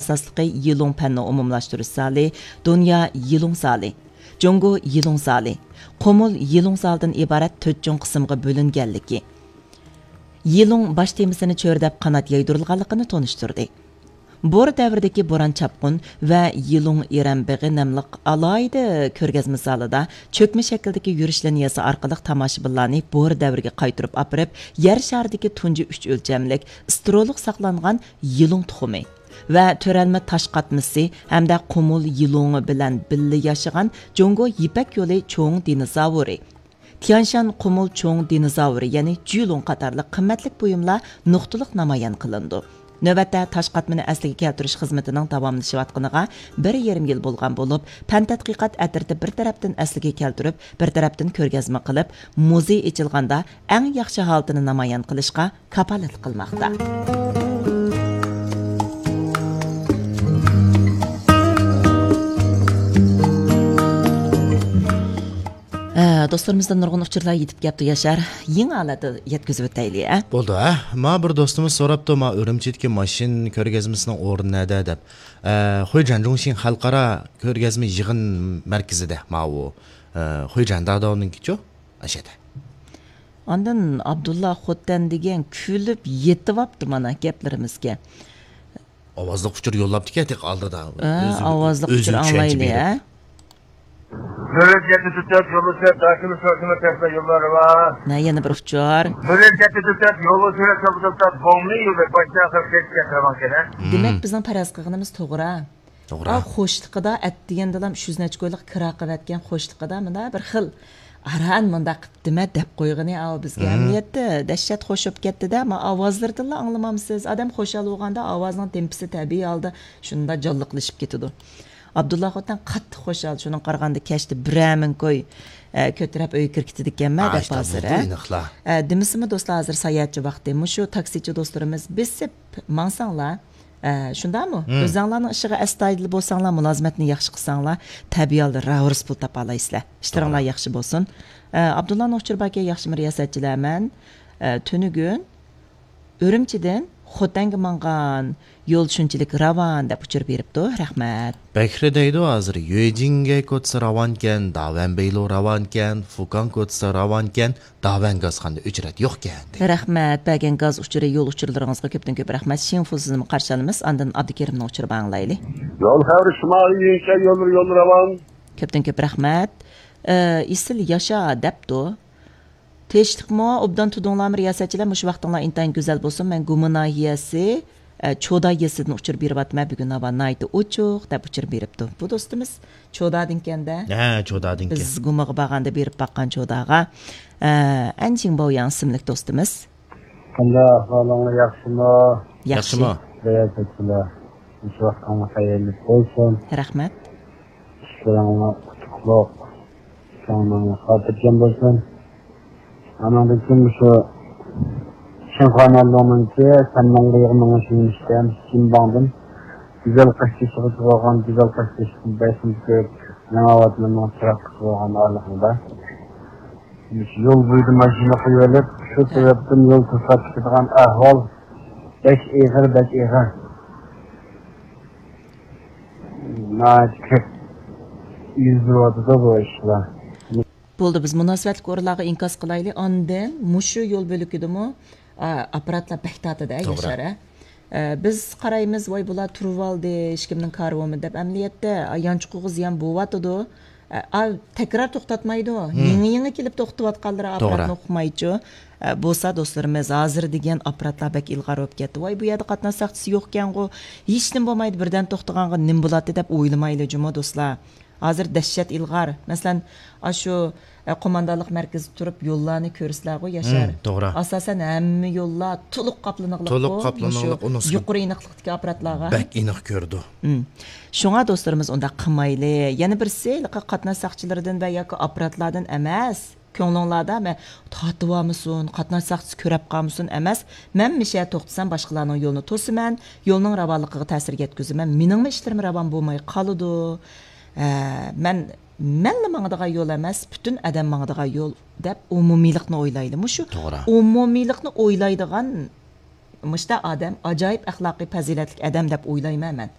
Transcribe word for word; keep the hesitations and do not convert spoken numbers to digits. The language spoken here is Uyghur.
ئاساسلىقى يىلۇڭ پەننى ئومۇملاشتۇرۇش زالى، دۇنيا يىلۇڭ زالى، جۇڭگو يىلۇڭ زالى، قۇمۇل يىلۇڭ زالىدىن ئىبارەت تۆت چوڭ قىسىمغا بۆلۈنگەنلىكى، يىلۇڭ باش تېمىسىنى چۆرىدەپ قانات يايدۇرۇلغانلىقىنى تونۇشتۇردى. بور دەۋرىدىكى بوران-چاپقۇن ۋە يىلۇڭ ئىرەن بېغى ناملىق ئالاھىدە كۆرگەزمە زالىدا چۆكمە شەكىلدىكى يۈرۈش لىنىيەسى ئارقىلىق تاماشىبىنلارنى بور دەۋرىگە قايتۇرۇپ ئاپىرىپ، يەر شارىدىكى تۇنجى ئۈچ ئۆلچەملىك، ستېرېئولۇق ساقلانغان يىلۇڭ تۇخۇمى ۋە تۆرەلمە تاش قاتمىسى ھەمدە قۇمۇل يىلۇڭى بىلەن بىللە ياشىغان جۇڭگو يىپەك يولى چوڭ دىنوزاۋرى، تيانشان قۇمۇل چوڭ دىنوزاۋرى، يەنى جۈلۇڭ قاتارلىق قىممەتلىك بۇيۇملار نۇقتىلىق نامايان قىلىنىدۇ. نۆۋەتتە تاش قاتمىنى ئەسلىگە كەلتۈرۈش خىزمىتىنىڭ داۋاملىشىۋاتقىنىغا بىر يېرىم يىل بولغان بولۇپ، پەن تەتقىقات ئەترىتى بىر تەرەپتىن ئەسلىگە كەلتۈرۈپ، بىر تەرەپتىن كۆرگەزمە قىلىپ، مۇزېي ئېچىلغاندا ئەڭ ياخشى ھالىتىنى نامايان قىلىشقا كاپالەتلىك قىلماقتا. ھە، دوستلىرىمىزدىن نۇرغۇن ئۇچۇرلار يېتىپ كەپتۇ، ياشار. يېڭى ھالەتتە يەتكۈزۈپ ئۆتەيلى، ھە؟ بولدى، ھە؟ ما بىر دوستىمىز سوراپتۇ، ما ئۈرۈمچىدىكى ماشىنا كۆرگەزمىسىنىڭ ئورنى نەدە دەپ. ئە، خۇيجەن جۇڭشىڭ خەلقئارا كۆرگەزمە يىغىن مەركىزىدە ماۋۇ، ئە، خۇيجەن داداۋنىڭكىچۇ؟ ئاشەدە. ئاندىن ئابدۇللا خوتەن دېگەن كۈلۈپ يېتىۋاپتۇ مانا گەپلىرىمىزگە. ئاۋازلىق ئۇچۇر يوللاپتىكەن تېخى ئالدىدا. ھە، ئۆزى، ئاۋازلىق ئۆزى ئۇچۇر چۈشەنچە ئاڭلايلى، بېرىپ. ھە؟ بۆرەك يەتتە تۆت يولى سۈرەت، داكىنى سورسىما تەسلا يوللار بار. نە يەنە بىر ئۇچۇر. بۆرەك يەتتە تۆت يولى سۈرەت، سابىدىلتا بوڭنى يولى باشتا ئاخىر كەچ كەتىرىۋالغان كەن. دېمەك، بىزنىڭ پەرەز قىلغىنىمىز توغرا. توغرا. ئا، قوشلىقىدا ئەتىگەندىلا ئۈچ يۈز نەچچە كويلۇق كىرا قىلىۋەتكەن قوشلىقىدا مۇندا بىر خىل ئاران مۇنداق قىپتىمە دەپ قويغىنى ئاۋۇ بىزگە. ئەمەلىيەتتە دەھشەت خوش بولۇپ كەتتىدە، ئەمما ئاۋازلىرىدىنلا ئاڭلىمامسىز؟ ئادەم خۇشال بولغاندا ئاۋازنىڭ تېمپىسى تەبىئىي ھالدا شۇنداق جانلىقلىشىپ كېتىدۇ. ئابدۇللا خوتەن قاتتىق خۇشال، شۇنىڭغا قارىغاندا كەچتە بىرەر مىڭ كوي، ئە، كۆتۈرەپ ئۆيگە كىرىپ كېتىدىكەنمەن دەپ ھازىر، ئە؟ ئە، دېمىسىمۇ دوستلار، ھازىر ساياھەتچى ۋاقتى. مۇشۇ تاكسىچى دوستلىرىمىز بېسىپ ماڭساڭلار، ئە، شۇنداقمۇ؟ ئۆزەڭلارنىڭ ئىشىغا ئەستايىدىل بولساڭلار، مۇلازىمەتنى ياخشى قىلساڭلار، تەبىئىي ھالدا راۋۇرۇس پۇل تاپالايسىلەر. ئىشلىرىڭلار ياخشى بولسۇن. ئە، ئابدۇللانىڭ ئۇچۇرى باركەن، ياخشىمۇ رىياسەتچىلەر؟ مەن، ئە، تۈنۈگۈن ئۈرۈمچىدىن خوتەنگە ماڭغان يول شۇنچىلىك راۋان دەپ ئۇچۇر بېرىپتۇ. رەھمەت. بەكرى دەيدۇ ھازىر، يۆجىڭگە كوتسا راۋانكەن، داۋەن بېيلو راۋانكەن، فۇكاڭ كوتسا راۋانكەن، داۋەن گازخانىدا ئۆچرەت يوقكەن دەيدۇ. رەھمەت. بەرگەن گاز ئۇچۇرى، يول ئۇچۇرلىرىڭىزغا كۆپتىن كۆپ رەھمەت. شىڭفۇ سىزنىمۇ قارشى ئالىمىز. ئاندىن ئابدۇكېرىمنىڭ ئۇچۇرىنى ئاڭلايلى. يول خەۋىرى شىمالىي يۈنشەن يوللىرى يوللىرى راۋان. كۆپتىن كۆپ رەھمەت. ئە، ئېسىل ياشا دەپتۇ. تىنچلىقمۇ؟ ئوبدان تۇردۇڭلارمۇ رىياسەتچىلەر؟ مۇشۇ ۋاقتىڭلار ئىنتايىن گۈزەل بولسۇن. مەن گۇما ناھىيەسى، ئە، چودا يېزىسىدىن ئۇچۇر بېرىۋاتىمەن. بۈگۈن ھاۋا ناھايىتى ئوچۇق دەپ ئۇچۇر بېرىپتۇ. بۇ دوستىمىز چودادىنكەن-دە. ھە، چودادىنكەن. بىز گۇمىغا بارغاندا بېرىپ باققان چوداغا. ئە، ئەنجىڭ باۋياڭ ئىسىملىك دوستىمىز. قانداق ئەھۋالىڭلار، ياخشىمۇ؟ ياخشى. ياخشىمۇ؟ رىياسەتچىلەر، مۇشۇ ۋاقتىڭلار خەيرلىك بولسۇن. رەھمەت. ئىشلىرىڭلار ئۇتۇقلۇق. كۆڭلۈڭلار خاتىرجەم بولسۇن. ئانىڭدىن كېيىن مۇشۇ شىنخۇا نەنلۇڭنىڭكى سەننىڭ بۇيرۇغىنىڭ شىنىشتەن شىنباڭدىن گۈزەل قاشتېشىغىچە بولغان، گۈزەل قاشتېشىدىن بەشىنچى كۆرۈپ، يېڭى ئاۋاتمىننىڭ چىراغ قىلىپ بولغان ئارىلىقىدا مۇشۇ يول بويىدا ماشىنا قويۇۋېلىپ، شۇ سەۋەبتىن يول توسۇلۇپ كېتىدىغان ئەھۋال بەك ئېغىر، بەك ئېغىر. ناھايىتى كۆپ يۈز بېرىۋاتىدۇ بۇ ئىشلار. بولدى، بىز مۇناسىۋەتلىك ئورۇنلارغا ئىنكاس قىلايلى. ئاندىن مۇشۇ يول بۆلىكىدىمۇ، ئا، ئاپپاراتلار بەك تارتىدۇ، توغرا. ياشار، ھە؟ ئە، بىز قارايمىز، ۋاي، بۇلار تۇرۇۋالدى، ھېچكىمنىڭ كارى بولمىدى دەپ. ئەمەلىيەتتە، ئا، يانچۇقىغا زىيان بولۇۋاتىدۇ. ئە، ئا، تەكرار توختاتمايدۇ. ھىم. يېڭى، يېڭى كېلىپ توختىۋاتقانلىرى توغرا. ئاپپاراتنى ئۇقمايچۇ. ئە، بولسا دوستلىرىمىز، ھازىر دېگەن ئاپپاراتلار بەك ئىلغار بولۇپ كەتتى. ۋاي، بۇ يەردە قاتناش ساقچىسى يوقكەنغۇ، ھېچنېمە بولمايدۇ، بىردەم توختىغانغا نېمە بولاتتى دەپ ئويلىمايلى جۇمۇ دوستلار. ھازىر دەھشەت ئىلغار. مەسىلەن، ئاشۇ، ئە، قوماندانلىق مەركىزىدە تۇرۇپ يوللارنى كۆرىسىلەرغۇ، ياشار. ھىم، توغرا. ئاساسەن ھەممە يوللار تولۇق قاپلىنىغلىققۇ، تولۇق قاپلىنىغلىق، مۇشۇ ئۇنىڭ يۇقىرى ئېنىقلىقتىكى ئاپپاراتلارغا. بەك ئېنىق كۆرىدۇ. ھىم. شۇڭا دوستلىرىمىز ئۇنداق قىلمايلى. يەنە بىرسى، ھېلىقى قاتناش ساقچىلىرىدىن ۋە ياكى ئاپپاراتلاردىن ئەمەس. كۆڭلۈڭلاردا مەن تارتىۋالمىسۇن، قاتناش ساقچىسى كۆرەپ قالمىسۇن ئەمەس، مەن مىشە توختىسام باشقىلارنىڭ يولىنى توسىمەن، يولنىڭ راۋانلىقىغا تەسىر يەتكۈزىمەن، مېنىڭمۇ ئىشلىرىم راۋان بولماي قالىدۇ. ھە، مەن، مەنلا ماڭىدىغان يول ئەمەس، پۈتۈن ئادەم ماڭىدىغان يول دەپ ئومۇمىيلىقنى ئويلايلى. مۇشۇ توغرا. ئومۇمىيلىقنى ئويلايدىغان مۇشۇنداق ئادەم ئاجايىپ ئەخلاقىي پەزىلەتلىك ئادەم دەپ ئويلايمەن مەن.